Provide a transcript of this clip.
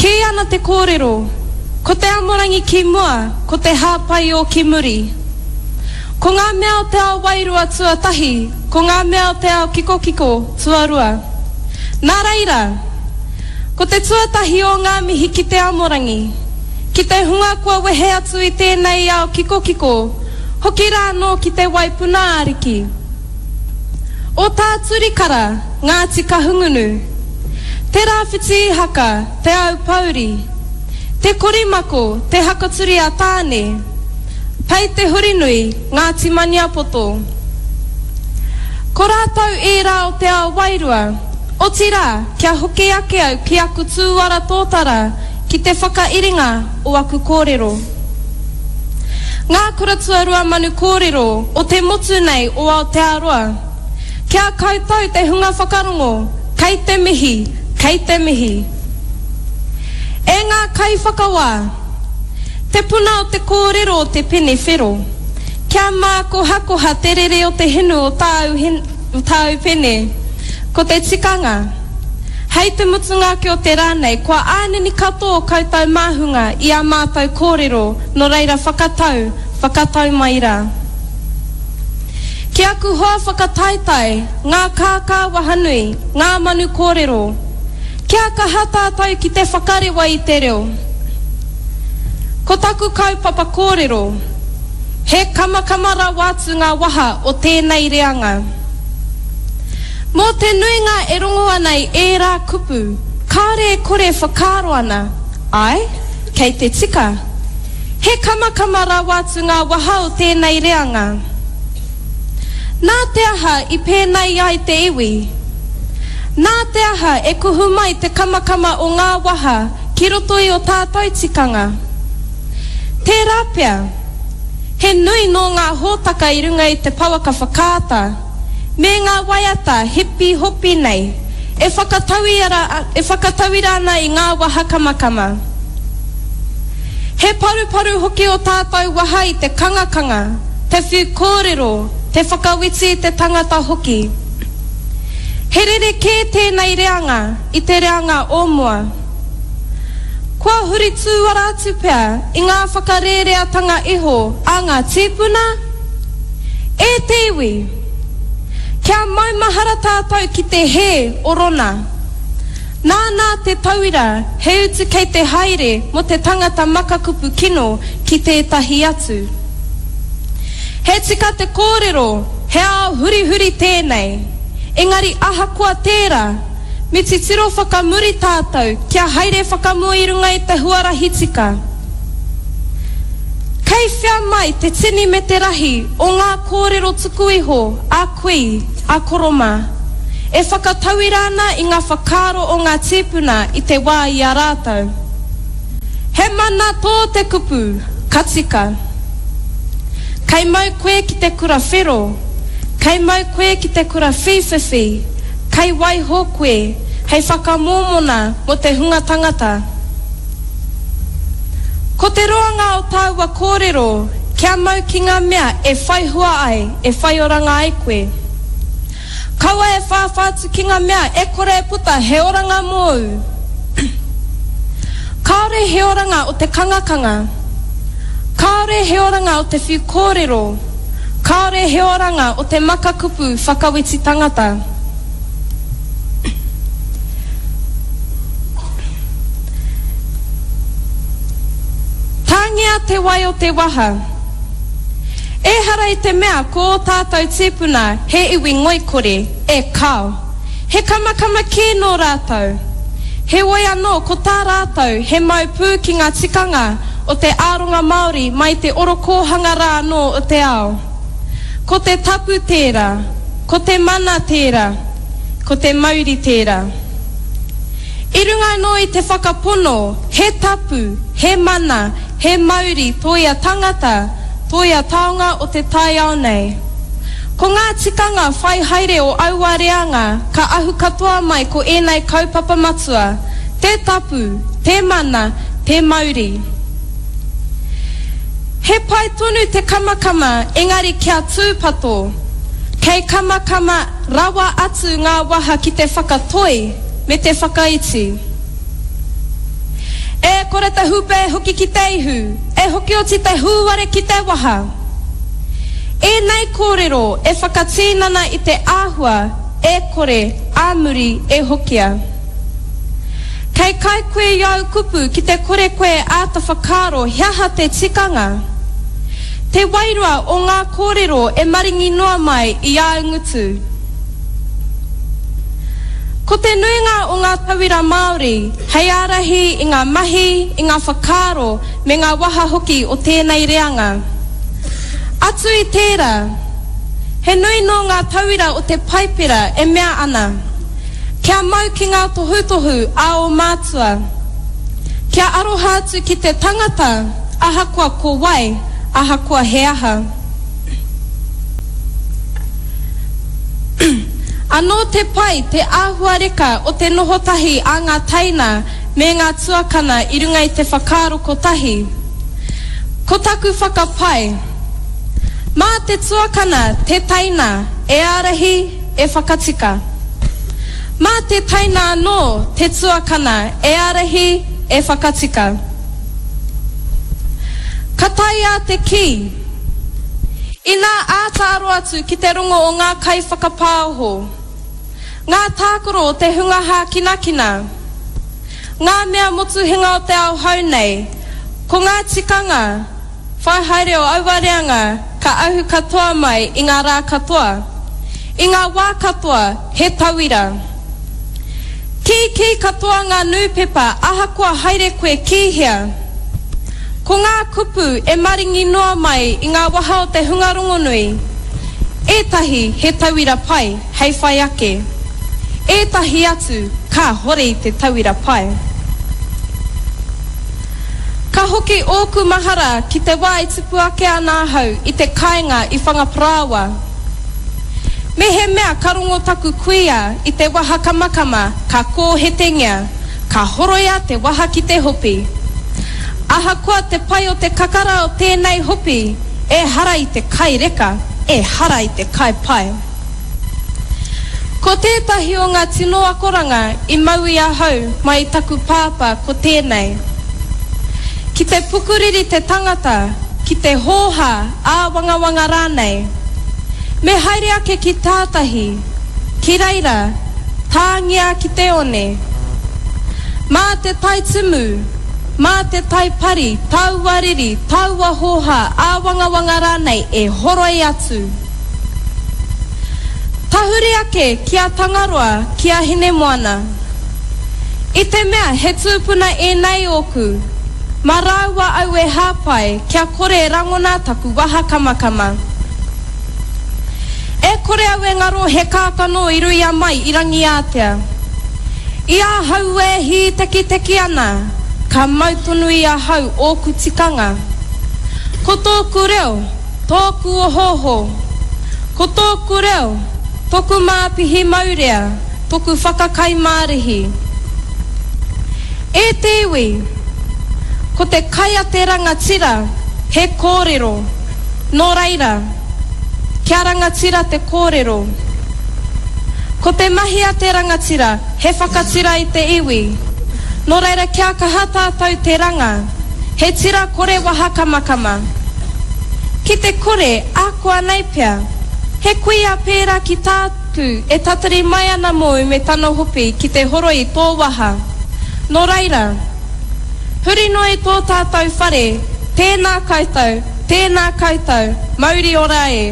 Kī ana te kōrero, Ko te amorangi ki mua, ko te hāpai ō ki muri. Ko ngā mea o te ao wairua tuatahi, ko ngā mea o te ao kikokiko tuarua. Nā reira, ko te tuatahi o ngā mihi ki te amorangi, ki te hunga kua wehe atu i tēnei ao kikokiko, hoki rā anō ki te Waipuna Ariki. O Tā Turikara, Ngāti Kahungunu. Te Rāwhiti Ihaka, Te Aupōuri. Te Korimako, Te Hakaturi a Tāne. Pei Te Hurinui, Ngāti Maniapoto. Ko rātou ērā o te ao wairua, otirā, kia hoki ake au ki aku tūara tōtara ki te whakairinga o aku kōrero. Ngā kura tuarua manu kōrero o te motu nei o Aotearoa. Ki a koutou te hunga whakarongo, kei te mihi, kei te mihi. E ngā kaiwhakawā, te puna o te kōrero o te pene whero, kia mākohakoha te rere o te hinu o tāu, o tāu pene, ko te tikanga, hei te mutunga ake o te rā nei, kua ānini katoa o koutou māhunga i ā mātou kōrero, nō reira whakatau, whakatau mai rā. Ki aku hoa whakataetae, ngā kākā wahanui, ngā manu kōrero, kia kaha tātou ki te whakarewa i te reo. Ko taku kaupapa kōrero, he kamakama rawa atu ngā waha o tēnei reanga. Mō te nuinga e rongo ana i ērā kupu, kāore e kore e whakaaro ana, āe, kei te tika. He kamakama rawa atu ngā waha o tēnei reanga. Nā te aha i pēnei ai te iwi? Nā te aha e kuhu mai te kamakama o ngā waha ki roto i o tātou tikanga? Tērā pea, he nui nō ngā hōtaka i runga i te pouaka whakaata, me ngā waiata hipi hopi nei, e whakatauira ana i ngā waha kamakama. He paruparu hoki o tātou waha i te kangakanga, te whiu kōrero, te whakawhiti i te tangata hoki. He rerekē tēnei reanga i te reanga o mua. Kua huri tūara atu pea i ngā whakarēreatanga iho a ngā tīpuna? E te iwi! Kia maumahara tātou ki te hē o Rona. Nānā te tauira he utu kei te haere mō te tangata makakupu kino ki tētahi atu. He tika te kōrero he ao hurihuri tēnei, engari ahakoa tērā, me titiro whakamuri tātou kia haere whakamua i runga i te huarahi tika. Kei whea mai te tini me te rahi o ngā kōrero tuku iho a kui, a koro mā, e whakatauira ana i ngā whakaaro o ngā tīpuna i te wā i a rātou. He mana tō te kupu, ka tika. Kei mau koe ki te kura whero, kei mau koe ki te kura whīwhiwhi, kei waiho koe hei whakamōmona mō te hunga tangata. Ko te roanga o tāua kōrero kia mau ki ngā mea e whai hua ai, e whai oranga ai koe. Kaua e whāwhā atu ki ngā mea e kore e puta he oranga mōu. Kāore he oranga o te kangakanga. Kāore he oranga o te whiu kōrero. Kāore he oranga o te maka kupu whakawhiti tangata. Tāngia te wai o te waha. Ehara i te mea ko ō tātou tīpuna he iwi ngoikore, e kāo. He kamakama kē nō rātou. Heoi anō ko tā rātou he mau pū ki ngā tikanga o te āronga Māori mai te orokōhanga rā anō o te ao. Ko te tapu tērā, ko te mana tērā, ko te mauri tērā. I runga anō i te whakapono he tapu, he mana, he mauri tō ia tangata, tō ia taonga o te taiao nei. Ko ngā tikanga whai haere o aua reanga ka ahu katoa mai ko ēnei kaupapa matua, te tapu, te mana, te mauri. He pai tonu te kamakama engari kia tūpato, kei kamakama rawa atu ngā waha ki te whakatoi me te whakaiti. kore te hūpē e hoki ki te ihu, e hoki oti te hūware ki te waha. Ēnei kōrero e whakatīnana i te āhua e kore ā muri e hokia. Kei kai koe i āu kupu ki te kore koe e āta whakaaro he aha te tikanga. Te wairua o ngā kōrero e maringi noa mai i āu ngutu. Ko te nuinga o ngā tauira Māori hei ārahi i ngā mahi, i ngā whakaaro me ngā waha hoki o tēnei reanga. Atu i tērā, he nui nō ngā tauira o te Paipera e mea ana, kia mau ki ngā tohutohu a ō mātua, kia aroha atu ki te tangata ahakoa ko wai, ahakoa he aha. Anō te pai, te āhua reka o te noho tahi a ngā teina me ngā tuakana i runga i te whakaaro kotahi. Ko taku whakapae, mā te tuakana te teina e ārahi, e whakatika. Mā te teina anō te tuakana e ārahi, e whakatika. Ka taea te kī. Inā āta aro atu ki te rongo o ngā kaiwhakapāoho, ngā tākaro o te hunga hākinakina, ngā mea motuhenga o te ao hou nei, ko ngā tikanga whai haere o aua reanga ka ahu katoa mai i ngā rā katoa, i ngā wā katoa, he tauira. Kīkī katoa ngā nūpepa ahakoa haere koe ki hea. Ko ngā kupu e maringi noa mai i ngā waha o te hunga rongonui, ētahi he tauira pai hei whai ake, ētahi atu kāhore i te tauira pai. Ka hoki ōku mahara ki te wā i tupu ake ana ahau i te kāinga i Whangaparāoa. Mehemea ka rongo taku kuia i te waha kamakama ka kōhetengia, ka horoia te waha ki te hopi. Ahakoa te pai o te kakara o tēnei hopi, ehara i te kai reka, ehara i te kai pai. Ko tētahi o ngā tino akoranga i mau i ahau mai i taku pāpā ko tēnei, Ki te pukuriri te tangata, ki te hōhā, āwangawanga rānei, me haere ake ki tātahi, ki reira, tāngia ki te one. Mā te tai tumu, mā te tai pari taua riri, taua hōhā, āwangawanga rānei e horoi atu. Tahuri ake ki a Tangaroa, ki a Hinemoana. I te mea he tūpuna ēnei ōku, mā rāua au e hāpai kia kore e rangona taku waha kamakama. E kore au e ngaro he kākano i ruia mai i Rangiātea. I ahau e hītekiteki ana, ka mau tonu i ahau ōku tikanga. Ko tōku reo, tōku ohooho. Ko tōku reo, toku māpihi maurea, toku whakakai mārihi. E te iwi, ko te kai a te rangatira, he kōrero. Nō reira, kia rangatira te kōrero. Ko te mahi a te rangatira, he whakatira i te iwi. Nō reira kia kaha tātou te ranga, he tira kore waha kamakama. Ki te kore, ākuanei pea, he kuia pērā ki tāku e tatari mai ana mōu me tana hopi ki te horoi i tō waha. Nō reira, huri noa i tō tātou whare, tēnā koutou, tēnā koutou, mauri ora e.